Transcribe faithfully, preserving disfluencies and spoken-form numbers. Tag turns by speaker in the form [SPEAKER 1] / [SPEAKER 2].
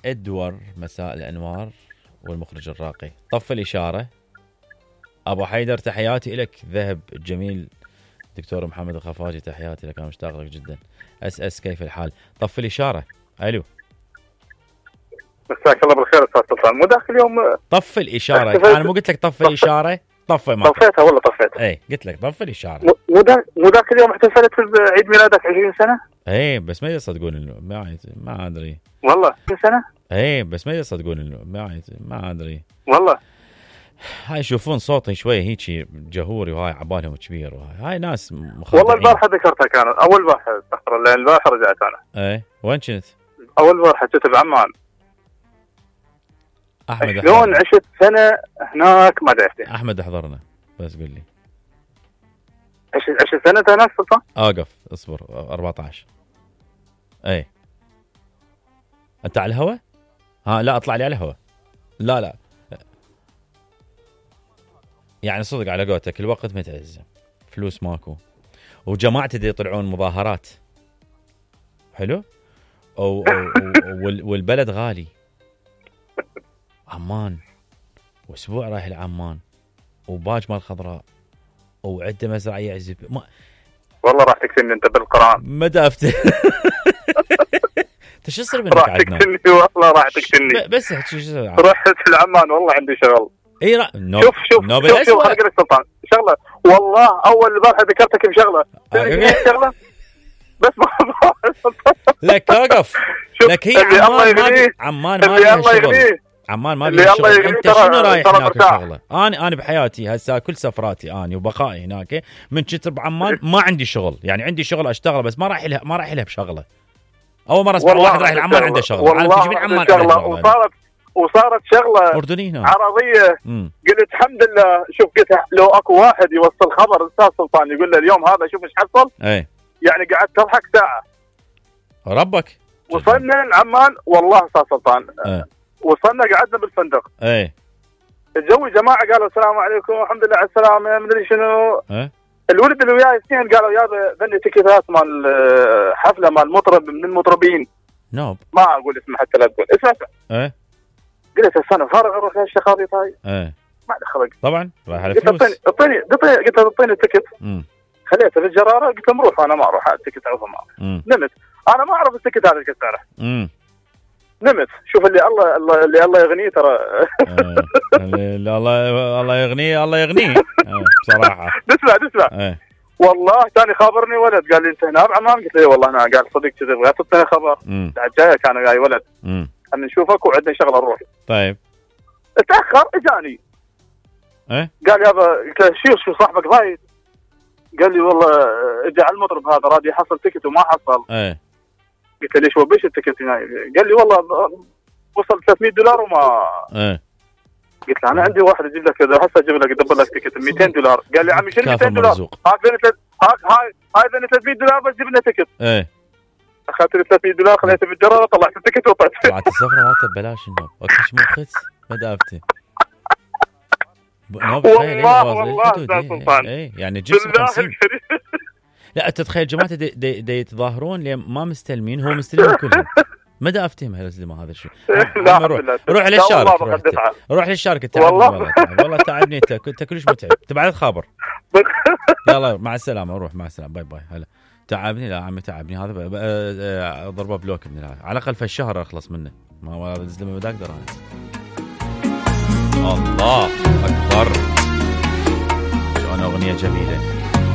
[SPEAKER 1] ادور مساء الانوار والمخرج الراقي. طف الاشاره. ابو حيدر تحياتي لك. ذهب الجميل دكتور محمد الخفاجي تحياتي لك، انا مشتاق لك جدا. اس اس كيف الحال؟ طف الاشاره. الو
[SPEAKER 2] مساك الله بالخير استاذ سلطان. مو داخل اليوم
[SPEAKER 1] طف الاشاره. انا مو قلت لك طف الاشاره؟ طف ما
[SPEAKER 2] طفيتها والله طفيتها.
[SPEAKER 1] اي قلت لك طف الاشاره.
[SPEAKER 2] مو دا مو ذاك اليوم احتفلت بعيد ميلادك عشرين سنه.
[SPEAKER 1] اي بس ما يصدقون انه ما ما ادري
[SPEAKER 2] والله عشرين سنه.
[SPEAKER 1] اي بس ما يصدقون انه ما ما ادري
[SPEAKER 2] والله.
[SPEAKER 1] هاي يشوفون صوتي شويه هيك جهوري وهاي عبالهم كبير وهاي هاي ناس مخادعين.
[SPEAKER 2] والله البارحه ذكرتها كانت اول بارحه استغفر الله البارحه رجعت انا.
[SPEAKER 1] اي وين كنت؟
[SPEAKER 2] اول بارحه كنت بعمان.
[SPEAKER 1] احمد
[SPEAKER 2] شلون عشت سنه هناك ما ادري.
[SPEAKER 1] احمد احضرنا بس قل لي.
[SPEAKER 2] عشت عشت سنه هناك سلطان؟
[SPEAKER 1] اوقف اصبر أربعة عشر. اي انت على الهوا؟ ها لا اطلع لي على الهوا. لا لا يعني صدق على قولتك الوقت متعز، فلوس ماكو، وجماعتي دي يطلعون مظاهرات حلو أو, أو, أو والبلد غالي. عمان واسبوع رايح لعمان وباج مال خضراء وعده مزرعيه عزب ما...
[SPEAKER 2] والله راح تكتمني انت بالقران.
[SPEAKER 1] ما دافت. انت شو يصير منك
[SPEAKER 2] راح
[SPEAKER 1] عندنا؟
[SPEAKER 2] تكتمني والله راح تكتمني.
[SPEAKER 1] بس شو يصير؟
[SPEAKER 2] رحت لعمان والله عندي شغل.
[SPEAKER 1] اي را... نوب...
[SPEAKER 2] شوف شوف
[SPEAKER 1] نوب
[SPEAKER 2] شوف, شوف خليني سلطان شغله والله اول بارحه ذكرتك بشغله شغله بس ما
[SPEAKER 1] لك اوقف. لك هي عمان ما عمان ما لها شغل. عمان ما لها شغل. انت شنو رايح هناك شغله؟ انا انا بحياتي هسه كل سفراتي اني وبقائي هناك من كتر بعمان ما عندي شغل، يعني عندي شغل اشتغل بس ما رايح لها ما رايح لها بشغله. اول مره اسمع واحد رايح لعمان عنده شغله.
[SPEAKER 2] والله تجيبين عمان شغله وصارت وصارت شغله
[SPEAKER 1] اردنيه
[SPEAKER 2] عربيه.
[SPEAKER 1] مم.
[SPEAKER 2] قلت الحمد لله. شوف قلت لو اكو واحد يوصل خبر استاذ سلطان يقول له اليوم هذا شوف ايش حصل.
[SPEAKER 1] اي
[SPEAKER 2] يعني قعدت اضحك ساعه.
[SPEAKER 1] ربك
[SPEAKER 2] وصلنا لعمان والله استاذ سلطان.
[SPEAKER 1] ايه.
[SPEAKER 2] وصلنا قعدنا بالفندق.
[SPEAKER 1] ايه
[SPEAKER 2] الجو جماعه قالوا السلام عليكم الحمد لله على السلامه ما ادري شنو.
[SPEAKER 1] ايه.
[SPEAKER 2] الولد اللي وياي اثنين قالوا يا بني تكتات مال حفله مال مطرب من المطربين.
[SPEAKER 1] نوب
[SPEAKER 2] ما اقول اسمه حتى لا تقول اسمع.
[SPEAKER 1] ايه.
[SPEAKER 2] قلت السنه فارغ اروح للشخاطي طاي.
[SPEAKER 1] ايه.
[SPEAKER 2] ما له خلق
[SPEAKER 1] طبعا راح على
[SPEAKER 2] فلوس. قلت اعطيني اعطيني قلت اعطيني التكت.
[SPEAKER 1] امم
[SPEAKER 2] خليته في الجراره قلت له روح انا ما اروح التكت اعرفه ما اروح. نمت انا ما اعرف التكت هذا كيف تعرف.
[SPEAKER 1] امم
[SPEAKER 2] نمت شوف اللي الله, الله اللي الله يغنيه ترى.
[SPEAKER 1] اللي الله الله يغنيه الله يغنيه بصراحه.
[SPEAKER 2] تسمع تسمع
[SPEAKER 1] ايه.
[SPEAKER 2] والله ثاني خابرني ولد قال لي انت هنا بعمان قلت له والله انا قال صدق كذا بغيت تعطيني خبر. بعد جاي كان جاي ولد
[SPEAKER 1] امم
[SPEAKER 2] ان نشوفك وعندنا شغله نروح.
[SPEAKER 1] طيب
[SPEAKER 2] اتاخر اجاني.
[SPEAKER 1] ايه
[SPEAKER 2] قال يابا قلت له شو شو صاحبك ضايد؟ قال لي والله اجى على المطرب هذا راد يحصل تكت وما حصل.
[SPEAKER 1] ايه.
[SPEAKER 2] قلت له ليش وبيش التكت هنا؟ قال لي والله وصل ثلاثمية دولار وما.
[SPEAKER 1] ايه.
[SPEAKER 2] قلت له انا عندي واحد اجيب لك هسه اجيب لك ادبر لك تكت مئتين دولار. قال لي عمي شنو مئتين دولار؟ هاك بين هاك هاي هاي بين ثلاثمية دولار بس جيب لنا تكت.
[SPEAKER 1] ايه.
[SPEAKER 2] اخذت لي ثلاثمية دولار خليته بالجراره طلعت التكت وطلعت.
[SPEAKER 1] طلعت السفره مالته ببلاش النوب. اكش مو خس ما دافته.
[SPEAKER 2] والله والله استاذ سلطان.
[SPEAKER 1] اي يعني جزء خمسين. لا تتخيل جماعه دي, دي, دي يتظاهرون ليه ما مستلمين هو مستلمين كلهم. ما دا افتهم هالزلمه هذا الشيء. روح روح للشارك روح, روح للشارك تعبني والله والله تعبني انت كنت كلش متعب تبعت خابر. يلا مع السلامه روح مع السلامه باي باي هلا تعبني لا عمي تعبني هذا ضربه بلوك من هذا على الاقل في الشهر اخلص منه ما هو هذا الزلمه ما اقدر انا. الله اكبر شو انا اغنيه جميله.